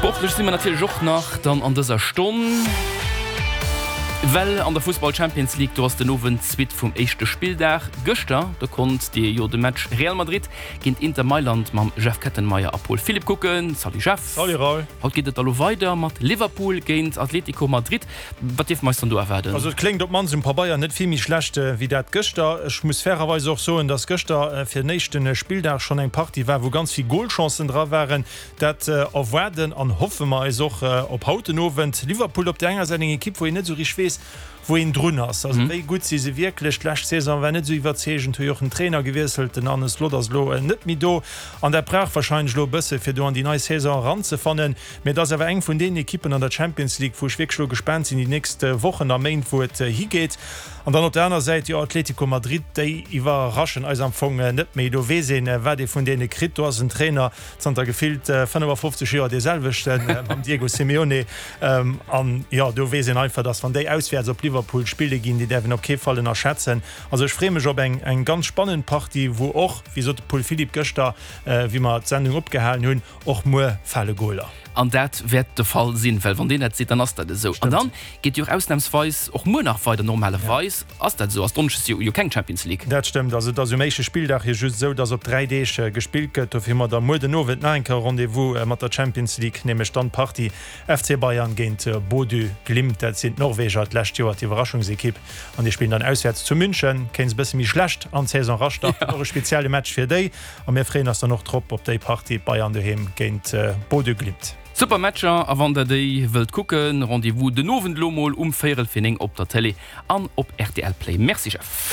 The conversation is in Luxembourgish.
Sportlech si mer natierlech och nach dann an dëser Stonn, well an der Fussball Champions League, do ass den Owend d'Suite vum éischte Spilldag. Gëschter, do konnt Dir jo de Match Real Madrid géint Inter Mailand mam Jeff Kettenmeyer a Paul Philipp kucken. Salut Jeff. Salut Raoul. Haut geet et da lo weider mat Liverpool géint Atletico Madrid. Wat dierfe mer eis dann do erwaarden? Also et kléngt op d'mannst um Pabeier net vill méi schlecht wéi dat gëschter. Ech muss fairerweis och soen, dass gëschter fir den éischte Spilldag schonn eng Partie war, wou ganz vill Golchancen dra waren. Dat erwaarden an hoffe mer eis och op haut den Owend. Liverpool op där enger Säit eng Ekipp, wou een net esou richteg weess, wou een drun ass. Also wéi gutt si se wierklech? D'lescht Saison war net esou iwwerzeegend, hu jo och den Trainer gewiesselt, den Arne Slot ass elo net méi do an dat brauch warscheinlech elo e bësse fir do an déi nei Saison eranzefannen. Mee et ass awer eng vun deenen Ekippen an der Champions League, wou ech wierklech elo gespaant sinn déi nächst Wochen a Méint, wou et higeet. An dann op der aner Säit, jo, Atletico Madrid, déi iwwerraschen eis am Fong net méi. Do weess een, wat ee vun deene kritt. Do ass en Trainer zanter gefillt 55 Joer dee selwechten, mam Diego Simeone. An jo, do weess een einfach, datt wann déi auswäerts op Liverpool spille ginn, déi däerf een op kee Fall ënnerschätzen. Also ech freeë mech op eng eng ganz spannend Partie, wou och, wéi sot de Paul Philipp gëschter, wéi mer d'Sendung opgehalen hunn, och muer fale Goler. An dat wäert de Fall sinn, well wann deen dat seet, dann ass dat esou. An dann geet jo och ausnamsweis och muer nach weider. Normalerweis ass dat esou, ass Donneschdes jo jo keng Champions League. Dat stëmmt. Also et ass um éischte Spilldag jo just esou, dass op 3 Deeg gespillt gëtt. Dofir hu mer da muer den Owend nach eng Kéier e Rendez-vous mat der Champions League, nämlech dann d'Partie FC Bayern géint Bodø Glimt. Dat sinn d'Norweger, d'lescht Joer d'Iwwerraschungsekipp an déi spillen dann auswäerts zu München. Kéint e bësse méi schlecht an d'Saison erastarten. Och e spezielle Match fir déi. A mir freeën eis dann och drop op déi Partie Bayern doheem géint Bodø Glimt. Super Matcher a wann der déi wëllt kucken, Rendez-vous den Owend lo mol um véierel fir 9 op der Télé an op rtl Play. Merci Jeff.